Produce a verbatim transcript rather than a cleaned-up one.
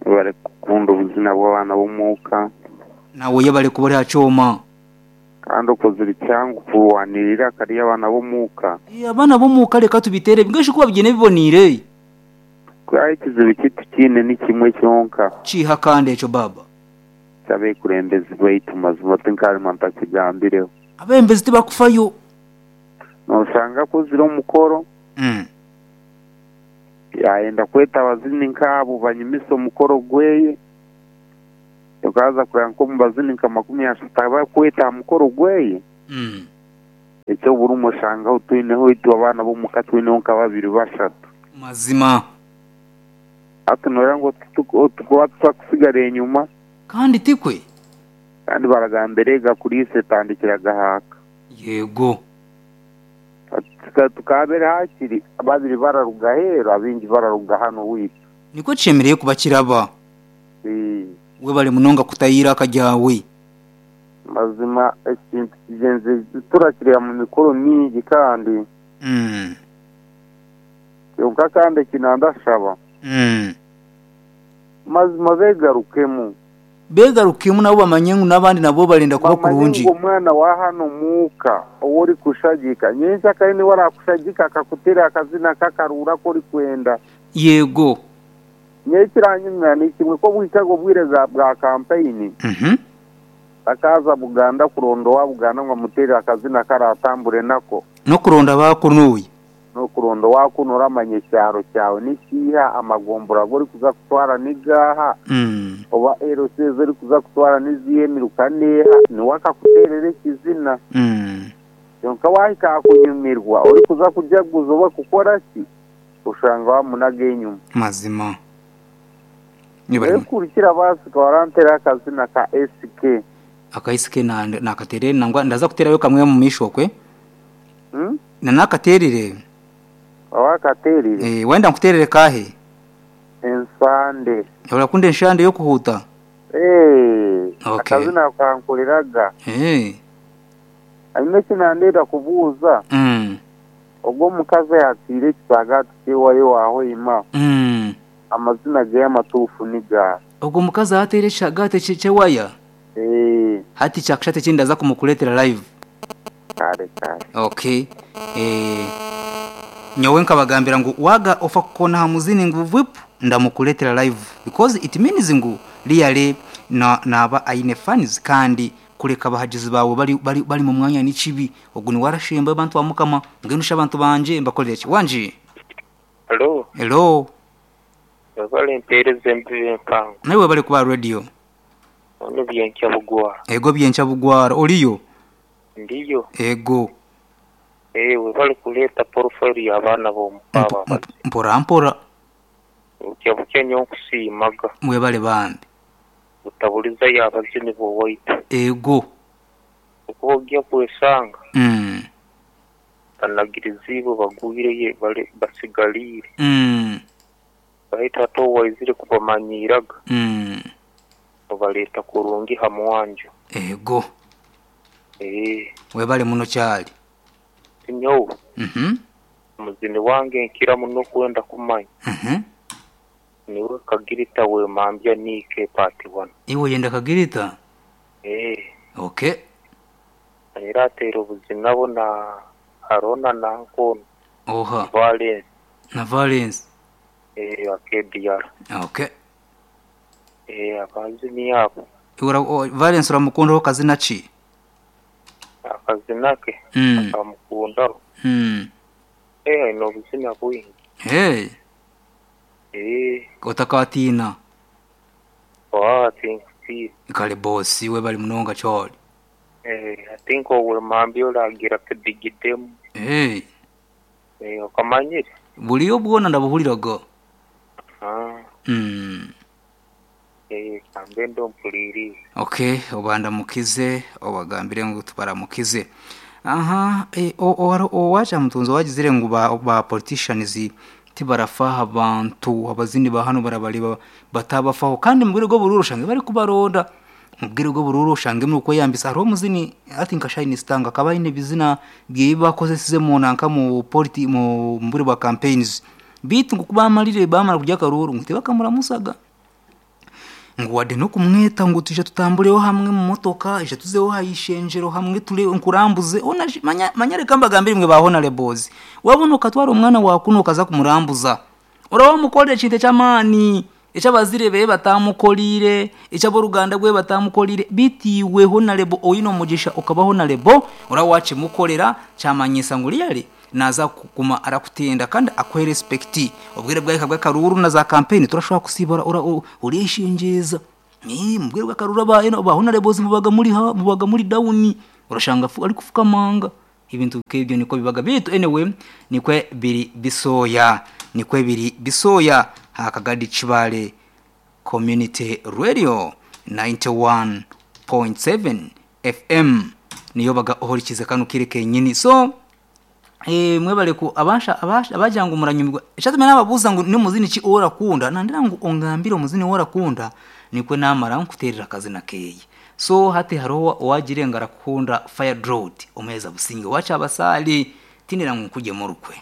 Bari kukunda obuzina bw'abaana b'omuuka. Nawe yebale kuba ori aha kyoma. Kandi okozire kyangu kurwanirira akari abaana b'omuuka. Eh, abaana b'omuuka reka tubitere ngeshi kuba bigyene biboniire. Kuba ekizibu kitu kiine ni kimwe kyonka. Kiha kandi ekyo baba. Ky'abekurembezi baitu mazima tinkarima ntakigambireho. Abembezi tibakufayo. Noshanga akozire omukoro. Mm. Yayenda kweta abazini nk'abo banyumisa omukoro gweye. Okaza kureba nk'omu bazini nka makumi ashatu abakweta aha mukoro gweye. Mm. Ekyo buri oshangaho twineho itwe abaana b'omuka twineho nka babiri bashatu. Mazima. Hati noora ngu tukuba tutakusigara enyuma. Kandi tikwe. Kandi baragambira ega kuriisa etandikira gahaka. Yego. Tukabere hakiri babiri bararuga heeru abingi bararuga hano witu. Niko kishemereire kuba kiraba. Ee. Webale munonga kutayira akajyawe. Mazima ekintu kigenze turakireba mu mikoro mingi kandi. Mm. Kyonka kandi kinandashaba. Mm. Mazima begarukemu. Begarukemu nabo bamanye ngu n'abandi nabo barenda kuba kurungi. Bamanye ngu omwana wa hano muuka owori kushagika nyensa kandi niwe arakushagika akakutera akazina kakarura kori kwenda. Yego. Nyekiranyumya ni kimwe ko bwikago bwire bwa campaign. Mhm. Akaza Buganda kuronda wa Buganda ngo amutere akazina karatambure nako. No kuronda bakunuye. No kuronda wakunura amanye cyaro cyawe nikiha amagombora gori kuza kutwara nigaha. Mm. Oba L C zori kuza kutwara niziye mirukaneha niwe akakuterere kizina. Mm. Yonka wahika kunyumirwa ori kuza kujaguza oba kukora ki ushanga wamunaga enyuma. Mazima. Ekurikira basi warantera akazina ka S K. Aka S K na nakaterere nangwa ndaza kuterayo kamwe mu mishokwe. Mm? Na nakaterere. Wakaterire. Eh, wenda nkuterere kahe? Ensande. Urakunda enshande yo kuhuta? Eh. Okay. Akazina kankoreraga. Eh. Anyuma kinandera kubuuza. Mm. Ogwo mukazi yatire kisagati kiwayo waho ima. Mm. Amazina ge y'amatufu niga. Ogwo mukazi atere shagate chewaya. Eh. Hati chakushate chindaza kumukuletera live. Kare kare. Okay. Eh. Nyowe nkabagambira ngu waga ofa kukona hamuzini ngu vip ndamukuletera live because it means ngu really na naba aine fans kandi kureka abahagizi bawe bari bari, bari mu mwanya n'ikibi ogwo ni warashemba abantu bamukama ngenusha abantu banje mbakorera ki wanje. Hello. Hello. Bale mpereze mbibe mpango. Nawe bale kuba radio. Ono byenkya bugwara. Ego byenkya bugwara oliyo. Ndiyo. Ego. Ewe bali kuleta portfolio y'abaana b'omupaba. Mpora mpora. Bukya bukya nyo nkusiimaga. Mwe bale bambi. Utabuliza y'abazini b'owaitu. Ego. Okuba ojja kwesanga. Mm. Banagiriziibwe bagwire bale basigaliire. Mm. Bahita ate owaizire kubamanyiraga. Mm. Obaleeta kurungi ha mwanjo. Ego. Eh. Webale muno kyali. Nyowe. Mhm. Muzini wange nkira muno kwenda kumanya. Mhm. Niwe Kagirita we mambya nike party one. Iwe yenda Kagirita? Eh. Okay. Era atera obuzina bo na Harona na Nkono. Oha. Valence. Na Valence. Eh, K D R. Okay. Eh, abazini abo. Iwe Valence uramukundaho kazina ki? Akazina ke. Mm. Akamukundaho. Mm. Eh, no buzina bwingi. Hey. Eh. Otakatina. Oh, I think si. Kale boss we bali munonga choli. Eh, I think owe mambi olagira kedigidemu. Eh. Eh, okamanyire. Buliyo bwona ndabuhuliraga. Ah. Mm. Eh, kambe ndo mpuliri. Okay, obanda mukize, obagambire ngu tubaramukize. Aha, eh o o o wacha mutunzo wagizire ngu ba, ba politicians tibarafaha abantu abazini ba hano barabareba batabafaho kandi mubwire go bururu shange bari kubaronda. Mubwire go bururu shange nuko yambisa hariho muzini I think Shine Stanga akaba ine bizina bye bakozesize mu nanka mu politi mu mbure ba campaigns bitu ngo kubamalire bamara kujya karuru ngo tebakamura musaga. Ngu wadde n'okumweta ngu tuje tutambureho hamwe mu motoka, ije tuzeho hayishenjero hamwe ture nkurambuze. Ona manya manya reka mbagambire mwe ba honorables. Wabona ukatwara omwana wakuno ukaza kumurambuza. Urawa mukorera ekintu eky'amaani eky'abazire be batamukorire, eky'aboruganda rwe batamukorire, bitiwe honorable oyine omugisha okaba honorable, urawa wakimukorera kyamanyisa ngu really naza kuguma arakutenda kandi akuhe respect. Obwire bwahika bw'akaruru na za campaign turashobora kusibura ura urishingiza. Ni mu bwire bw'akaruru aba ba honorables mubaga muri ha mubaga muri down, urashanga ari kufukamanga. Ibintu kebyo niko bibaga bitu. Anyway, nikwe biri bisoya, nikwe biri bisoya hakagadi Kibale Community Radio ninety-one point seven F M niyo baga ohorikize kano kire kenyini. So eh mwebale ku abasha abasha abajanga umuranyumirwa eshatu nababuza ngo ni muzini ki orakunda nandira ngo ongambire omuzini orakunda nikwe namara nkuterera akazi na keye. So hati hariho owagire ngarakunda fire drought omweza businge wacha abasali tinira nkuje murukwe.